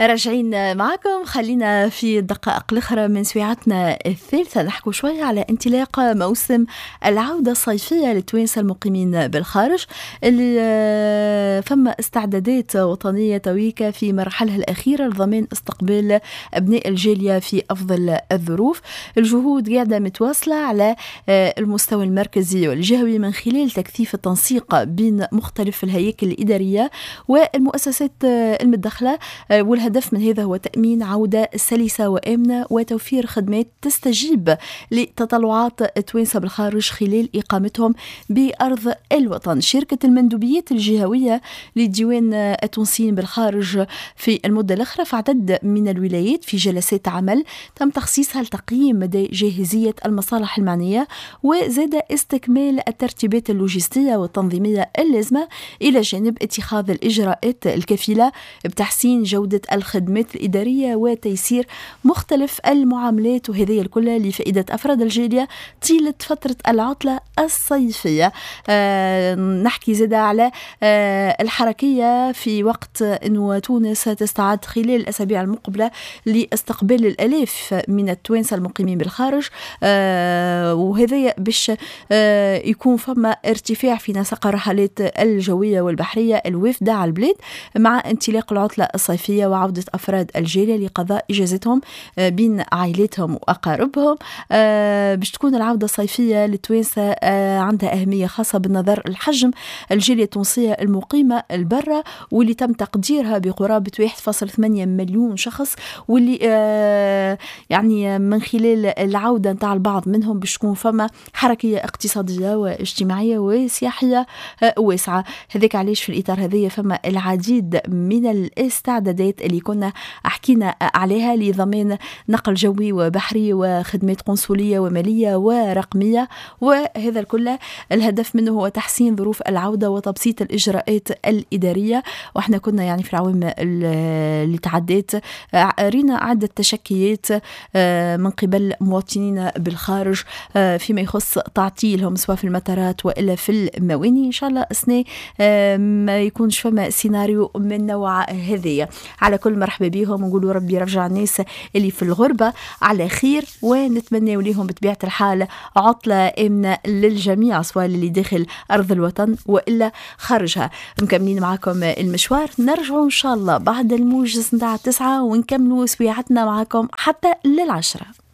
راجعين معكم، خلينا في الدقائق الأخرى من سويعتنا الثالثة نحكوا شوية على انطلاق موسم العودة الصيفية للتوانسة المقيمين بالخارج، اللي فما استعدادات وطنية تويكا في مرحلها الأخيرة لضمان استقبال أبناء الجالية في أفضل الظروف. الجهود قاعدة متواصلة على المستوى المركزي والجهوي من خلال تكثيف التنسيق بين مختلف الهياكل الإدارية والمؤسسات المتدخلة، والهدف من هذا هو تأمين عودة سلسة وآمنة وتوفير خدمات تستجيب لتطلعات التوانسة بالخارج خلال إقامتهم بأرض الوطن. شركة المندوبيات الجهوية لديوان التونسيين بالخارج في المدة الأخرى في عدد من الولايات في جلسات عمل تم تخصيصها لتقييم مدى جاهزية المصالح المعنية وزاد استكمال الترتيبات اللوجستية والتنظيمية اللازمة، إلى جانب اتخاذ الإجراءات الكفيلة بتحسين جودة الخدمات الإدارية وتيسير مختلف المعاملات، وهذه الكل لفائدة أفراد الجالية طيلة فترة العطلة الصيفية. نحكي زادة على الحركية في وقت أنه تونس تستعد خلال الأسابيع المقبلة لاستقبال الآلاف من التوانسة المقيمين بالخارج، وهذا باش يكون فما ارتفاع في نسق الرحلات الجوية والبحرية الوافدة على البلاد مع انطلاق العطلة الصيفية وعودة أفراد الجالية لقضاء إجازتهم بين عائلاتهم وأقاربهم. باش تكون العودة الصيفية للتوانسة عندها أهمية خاصة بالنظر الحجم الجالية التونسية المقيمة البرة، واللي تم تقديرها بقرابة 1.8 مليون شخص، واللي يعني من خلال العودة نتاع البعض منهم باش تكون فما حركية اقتصادية واجتماعية وسياحية واسعة. هذاك علاش في الإطار هذايا فما العديد من الاستعدادات اللي كنا حكينا عليها لضمان نقل جوي وبحري وخدمات قنصلية ومالية ورقمية، وهذا الكل الهدف منه هو تحسين ظروف العودة وتبسيط الإجراءات الإدارية. وإحنا كنا يعني في العوام اللي تعديت رينا عدة تشكيات من قبل مواطنين بالخارج فيما يخص تعطيلهم سواء في المطارات وإلا في المواني. إن شاء الله السنة ما يكونش فما سيناريو من نوع هذايا. على كل مرحبا بهم، ونقولوا ربي يرجع الناس اللي في الغربة على خير، ونتمنى لهم بطبيعة الحال عطلة آمنة للجميع سواء اللي داخل أرض الوطن وإلا خارجها. مكملين معكم المشوار، نرجعوا إن شاء الله بعد الموجز نتاع 9 ونكملوا سويعتنا معكم حتى 10.